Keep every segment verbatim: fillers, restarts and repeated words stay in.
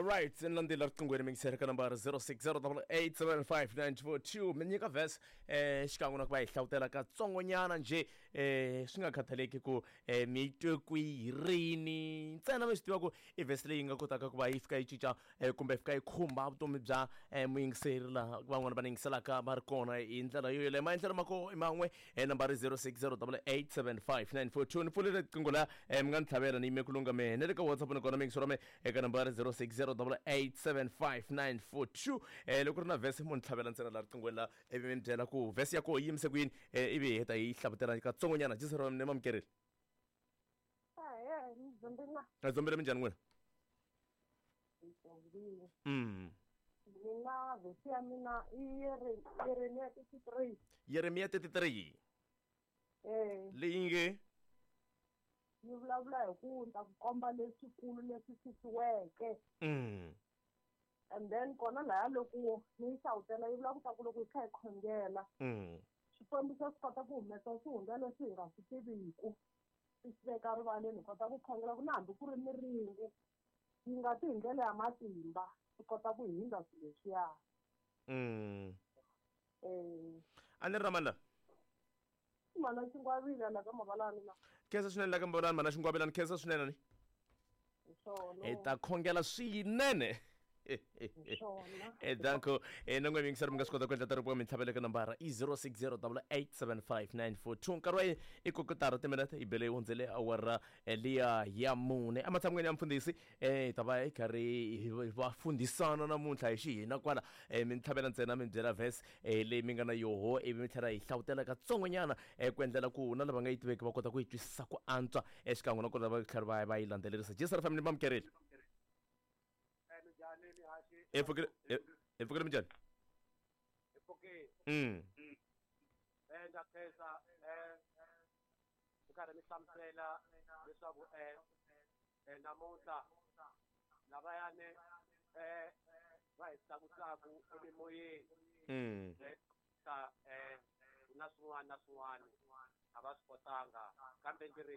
Alright, ni landzela riqingweni mi yingisela ka nambara zero six zero double eight seven five nine four two mi nyika verse eh xikan'we na ku va hi hlawutela katsongonyana njhe eh swi nga khathaleki ku eh mi yi twe kwihi rini ntsena mi swi tiva ku i verse leyi nga kotaka ku va yi fika yi cinca eh, kumbe yi fika yi khumba vutomi bya eh, muyingiseri laha van'wana va ni yingiselaka va ri kona hi ndlela yo yoleyo maendlelo ma ko i man'we eh, nambara zero six zero double eight seven five nine four two ni pfulile riqingho la eh, mi nga ni tlhavela ni yime ku lungha mehe na le ka WhatsApp ni kona mi yingisela me eka nambara zero six zero double eight seven five nine four two eh, loko ri na verse mo ni tlhavela ntsena laha riqinghweni la ivi mi ni byela ku verse ya koho yi yimise ku yini eh, ivi hi heta hi yi hlavutela katsongonyana jisero ni mamukerile. Ahee, ni dzombile. A dzombile minjhani n'wina? Ni dzombile. Mm. Mina verse ya mina i Yere- Yeremiya thirty-three. Yeremiya thirty-three. Eh. Leyi nge yi vulavula hi ku ni ta ku komba leswikulu leswi fihliweke. Mm. And then kona laya loko ni yi hlawutela yi vula ku ta ku loko hi kha hi khongela Mm. Xikwembu xa swi kota ku humesa swihundla leswi hi nga swi tiviku swi swi veka rivaleni hi kota ku khongela ku na hambi ku ri miringu yi nga ti hi ndlela ya matimba swi kota ku hindza swilo leswiya. Mm. Eh. A ni ri na mani la? Mana Xingwavila la ka Mavalani la. Khensa swinene la ka Mavalani mana Xingwavila ni khensa swinene ni. Hi swona. Hi ta khongela swinene. Hi swona. Eh, danko eh, na n'we miyingiseri mi nga swi kota ku endla taripo mi tlhavela ka nambara i zero six zero double eight seven five nine four two nkarhi wa yini i kotara timinete yi bele yi hundzele awara eh, liya ya mune ematshan'weni ya mfundhisi eh, hi ta va hi karhi hi va fundhisana namuntlha hi xihina kwala eh, mi ni tlhavela ntsena mi byela verse eh, leyi mi nga na yoho ivi mi tlhela hi hlawutela katsongonyana eh, ku endlela ku na lava nga yi tiveki va kota ku yi twisisa ku antswa eh, xikan'we na ku lava tlhela va va yi landzelerisa. Jesu family mamukerile. Hi pfukile hi pfukile minjhani? Hi pfukile. Mm. Eh ndza khensa eh mi karhi mi hlamusela leswaku eh eh namuntlha lavayani eh va hi tlakusaku emimoyeni. Mm. Eh ta eh na swin'wana na swin'wana a va swi kotanga kambe ndzi ri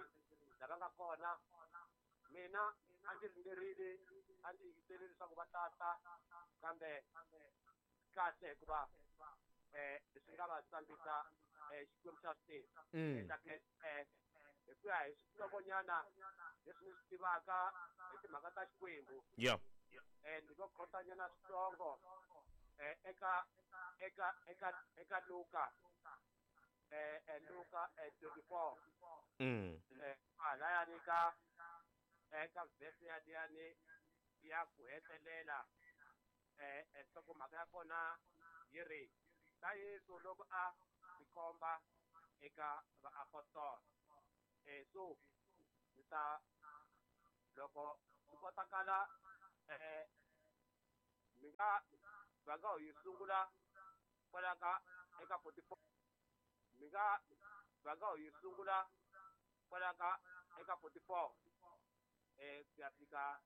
lava nga kona mina a ndzi ringerile a ndzi yingiserile leswaku va tata kambe kahle hikuva eh leswi nga va tsambisa eh Xikwembu xa swi tiva. Mm. Eh hi ku ya hi swihlokonyana leswi ni swi tivaka hi timhaka ta Xikwembu. Yeah. Eh ndzi lo khotanyana switsongo eh eka eka eka eka Luka eh eh Luka eh twenty-four. Mm. Eh halayani ka eka verse ya liyani ya ku hetelela eh eh nhlokomhaka ya kona yi ri ta Yesu loko a tikomba eka vaapostola. Eh so ni ta loko swi kotakala eh mi nga va nga yi sungula kwala ka eka forty-four mi nga va nga yi sungula kwala ka eka forty-four eh ku ya fika